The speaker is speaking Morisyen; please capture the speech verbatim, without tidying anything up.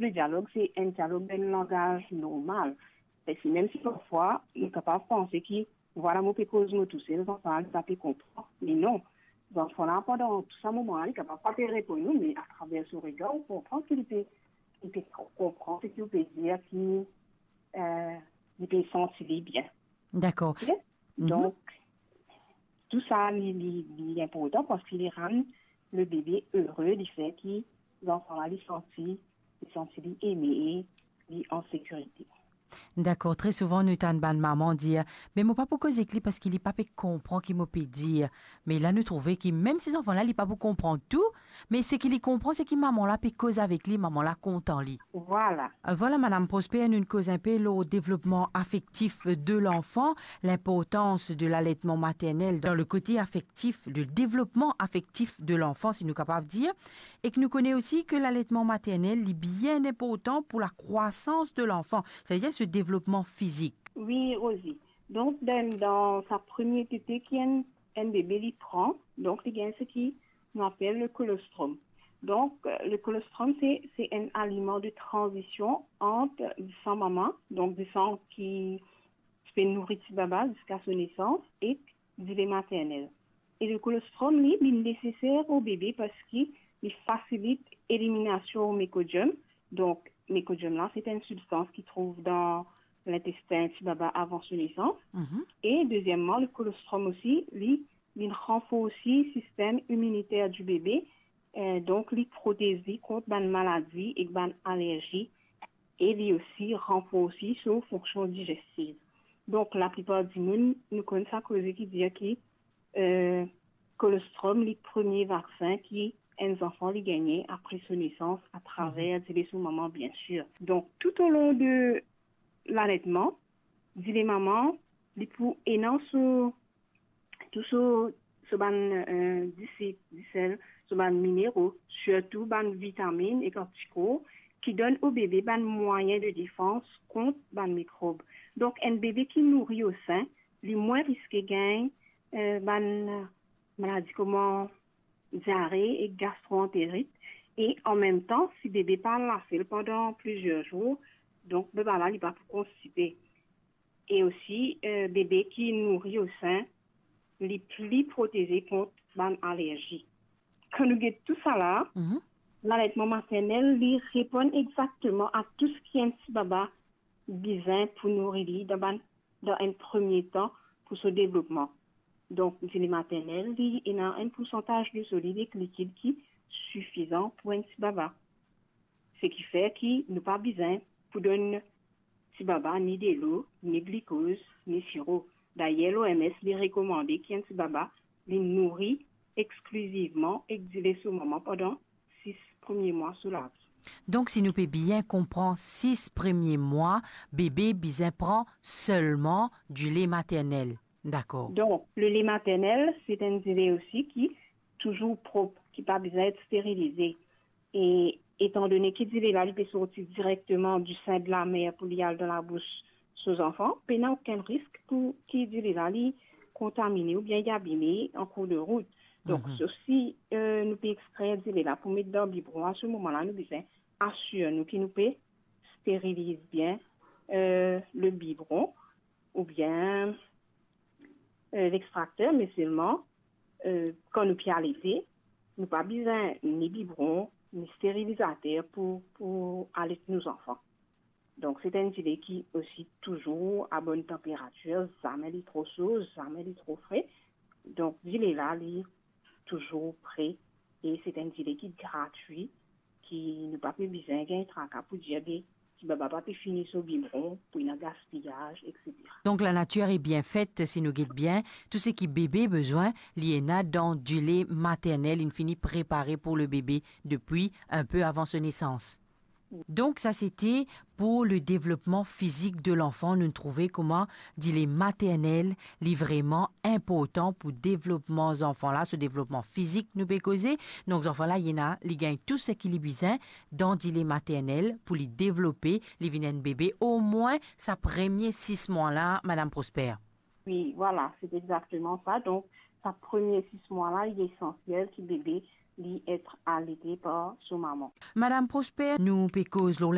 Le dialog, se enn dialog dan enn langaz normal. Paski mem si parfwa, nou kapav panse ki, vwala, mo pe koz mo tousel, zanfan la, li pa pe konpran. Me non, zanfan la, pandan tou sa moman la, li kapav pa pe reponn ou, me atraver so regar, ou konpran ki li pe, li pe konpran seki ou pe dir, ki, eh, li pe santi li bien. Dakor. Ok? Mhm. Donk, tou sa, li, li, li inportan paski li rann le bebe ere, li fer ki zanfan la, li santi, li santi li eme, li an sekirite. Dakor, tre souvan nou tann bann mama dir, "Me mo pa pou koz ek li paski li pa pe konpran ki mo pe dir." Me la nou trouve ki mem si zanfan la, li pa pou konpran tou, me seki li konpran, seki mama la pe koz avek li, mama la kontan li. Vwala. Euh, vwala, Madam Prosper, nou koz inpe lor devlopman afektif de lanfan, linportans de laletman maternel dan le kote afektif, le devlopman afektif de lanfan, si nou kapav dir, e ki nou kone osi ki laletman maternel, li bien inportan pou lakrwasans de lanfan, setadir so devlopman fizik. Wi, Rosie. Donk, dan, dan sa premie tete ki enn, enn bebe li pran, donk li gagn seki nou apel le kolostrom. Donk, euh, le kolostrom, se, se enn aliman de tranzision ant disan mama, donk disan ki ti pe nouri ti baba ziska so nesans, ek dile maternel. E le kolostrom, li, li neseser o bebe paski li fasilit eliminasion o mikodiom. Donk, mikodiom la, se enn sibstans ki trouv dan lintestin ti baba avan so nesans. Mhm. E dezieman, le kolostrom osi, li, li ranforsi sistem iminiter di bebe, eh, donk li protez li kont bann maladi ek bann alerzi, e li osi ranforsi so fonksion digestiv. Donk, laplipar dimoun, nou konn sa koze ki dir ki, eh, kolostrom, li premie vaksin ki enn zanfan li gagne apre so nesans atraver, mhm, dile so mama, biensir. Donk, toutolong de laletman, dile mama, li pou ena so, tou so, so bann, eh, disip, disel, so bann minero, sirtou bann vitaminn ek antikor ki donn o bebe bann mwayin de defans kont bann mikrob. Donk, enn bebe ki nouri o sin, li mwin riske gagn, eh, bann maladi kouma diare ek gastroanterit. E anmemtan, si bebe pa al lasel pandan plizier zour, donk bebe la, li pa pou konstipe. E osi, eh, bebe ki nouri o sin, li pli proteze kont bann alerzi. Kan nou get tou sa la, mhm, laletman maternel, li reponn exakteman a tou seki enn ti baba bizin pou nouri li dan bann, dan enn premie tan pou so devlopman. Donk, dile maternel, li ena enn poursantaz de solid ek likid ki sifizan pou enn ti baba. Seki fer ki nou pa bizin pou donn ti baba ni delo, ni glikoz, ni siro. Dayer, l'O M S, li rekomande ki enn ti baba, li nouri exklizivman ek dile so mama pandan sis premie mwa so lavi. Donk, si nou pe bien konpran, sis premie mwa, bebe bizin pran selman dile maternel. Dakor. Donk, le lait maternel, se enn dile osi ki touzour prop, ki pa bizin et sterilize. E etandone ki dile la, li pe sorti direkteman di sin de lamer pou li al dan labous so zanfan, pena okenn risk pou ki dile la, li kontamine oubien li abime an kour de rout. Donk, mhm, sof si, eh, nou pe extrer dile la pou met dan bibron, a se moman la, nou bizin asir nou ki nou pe steriliz bien, eh, le bibron oubien, eh, lextrakter, me selman, eh, kan nou pe alete, nou pa bizin ni bibron, ni sterilizater pou, pou alet nou zanfan. Donk, se enn dile ki osi touzour a bonn tanperatir, zame li tro so, zame li tro fre. Donk, dile la, li touzour pre, e se enn dile ki gratwi, ki nou pa pe bizin gagn traka pou dir, be, ti baba pa pe fini so bibron, pou ena gaspiyaz, etsetera. Donk, la natir est bien faite, si nou get bien, tou seki bebe bizin, li ena dan dile maternel, inn fini prepare pou le bebe depi inpe avan so nesans. Donk, sa sete pou le devlopman fizik de lanfan. Nou trouve kouma dile maternel, li vreman inportan pou devlopman zanfan la, so devlopman fizik, nou pe koze. Donk, zanfan la, li ena, li gagn tou seki li bizin dan dile maternel pou li devlope, li vinn enn bebe, omwin sa premie sis mwa la, Madam Prosper. Wi, vwala, se exakteman sa. Donk, sa premie sis mwa la, li esansiel ki bebe, li et alete par so mama. Madam Prosper, nou pe koz lor